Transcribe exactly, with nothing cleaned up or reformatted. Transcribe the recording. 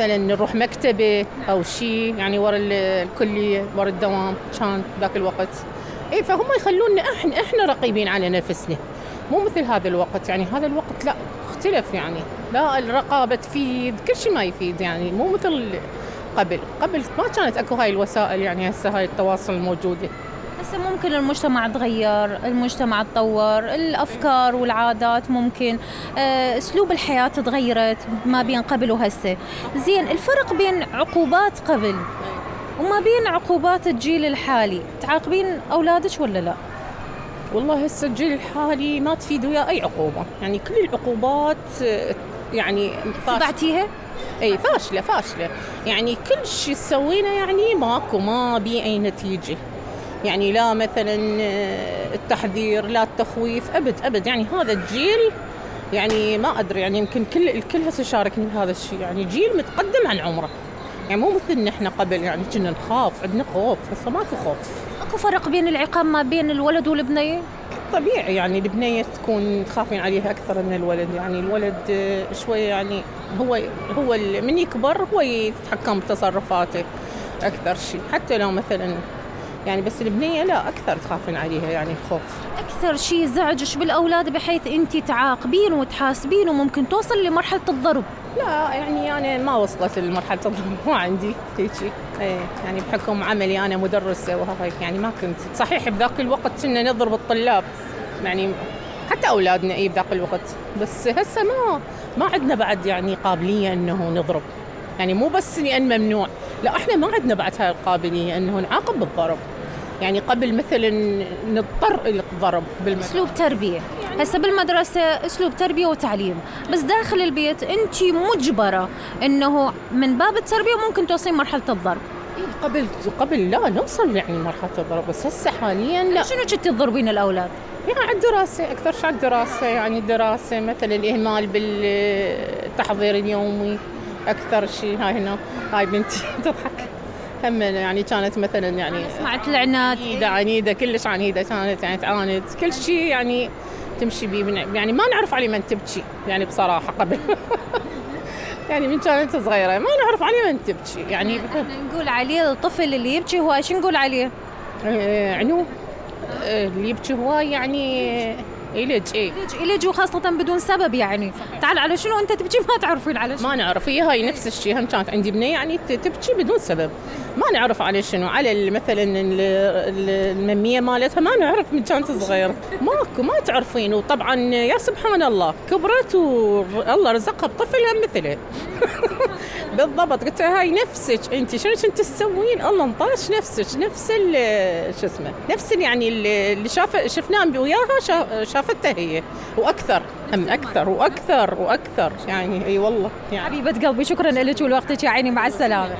مثلا نروح مكتبة أو شيء يعني ورا الكلية ورا الدوام كان ذاك الوقت. إيه فهم يخلونا إحنا إحنا رقيبين على نفسنا، مو مثل هذا الوقت. يعني هذا الوقت لا اختلف، يعني لا الرقابة تفيد، كل شيء ما يفيد، يعني مو مثل قبل. قبل ما كانت أكو هاي الوسائل، يعني هسه هاي التواصل الموجودة. هسه ممكن المجتمع تغير، المجتمع تطور، الأفكار والعادات ممكن، آه، أسلوب الحياة تغيرت ما بين قبل وهسه. زين، الفرق بين عقوبات قبل وما بين عقوبات الجيل الحالي، تعاقبين أولادك ولا لا؟ والله هسه الجيل الحالي ما تفيد وياه أي عقوبة، يعني كل العقوبات يعني تبعتيها؟ اي فاشلة فاشلة، يعني كل شيء تسوينه يعني ماكو ما بي أي نتيجة. يعني لا مثلا التحذير لا التخويف، أبد أبد. يعني هذا الجيل يعني ما أدري، يعني يمكن كل الكل هسه شاركني بهذا الشيء، يعني جيل متقدم عن عمره، يعني مو مثلنا احنا قبل يعني كنا نخاف، عندنا خوف، هسه ماكو خوف. اكو فرق بين العقاب ما بين الولد والبنية؟ طبيعي، يعني البنية تكون تخافين عليها أكثر من الولد. يعني الولد شوية يعني هو هو من يكبر هو يتحكم بتصرفاته أكثر شيء، حتى لو مثلا يعني، بس البنية لا أكثر تخافين عليها، يعني الخوف. أكثر شيء زعجش بالأولاد بحيث أنت تعاقبين وتحاسبين وممكن توصل لمرحلة الضرب؟ لا يعني أنا ما وصلت لمرحلة الضرب، ما عندي هيك. إيه يعني بحكم عملي أنا مدرسة وهيك، يعني ما كنت صحيح بذاك الوقت كنا نضرب الطلاب، يعني حتى أولادنا إيه بذاك الوقت، بس هسه ما ما عندنا بعد يعني قابلية إنه نضرب. يعني مو بس لأن ممنوع، لا إحنا ما عندنا بعد هاي القابلية إنه نعاقب بالضرب. يعني قبل مثلا نضطر إلى الضرب بالمدرسة، أسلوب تربية. هسه بالمدرسة أسلوب تربية وتعليم، بس داخل البيت أنت مجبرة إنه من باب التربية ممكن توصلين مرحلة الضرب. قبل قبل لا نوصل يعني مرحلة الضرب، بس هسه حاليا لا. شنو كنتي تضربين الأولاد؟ يعني على الدراسة أكثر شيء، على الدراسة، يعني الدراسة مثلا الإهمال بالتحضير اليومي أكثر شيء. هاي هنا هاي بنتي تضحك هم، يعني كانت مثلا يعني سمعت العناد، عنيدة عنيدة كلش عنيدة كانت، يعني تعاند كل شيء يعني تمشي بيه، يعني ما نعرف علي من تبكي يعني بصراحة قبل يعني من كانت صغيرة ما نعرف علي من تبكي. يعني نقول عليه الطفل اللي يبكي هو ايش نقول عليه؟ آه عنو آه اللي يبكي هو يعني إلج إيه إلج وخاصة بدون سبب. يعني تعال على شنو أنت تبكي ما تعرفين على شنو. ما نعرف، هي هاي نفس الشيء. هم كانت عندي بنية يعني تبكي بدون سبب، ما نعرف على شنو، على مثلا الممية مالتها ما نعرف من كانت صغيرة، ماكو ما تعرفين. وطبعا يا سبحان الله كبرت والله رزقها بطفل هم مثله بالضبط. قلت هاي نفسك انت، شنو كنت تسوين؟ الله انطاش نفسك نفس شو اسمه، نفس يعني اللي شاف شفناه وياها شافته هي واكثر، هم اكثر واكثر واكثر. يعني اي والله يعني حبيبة قلبي شكرا لك ولوقتك يا عيني، مع السلامة.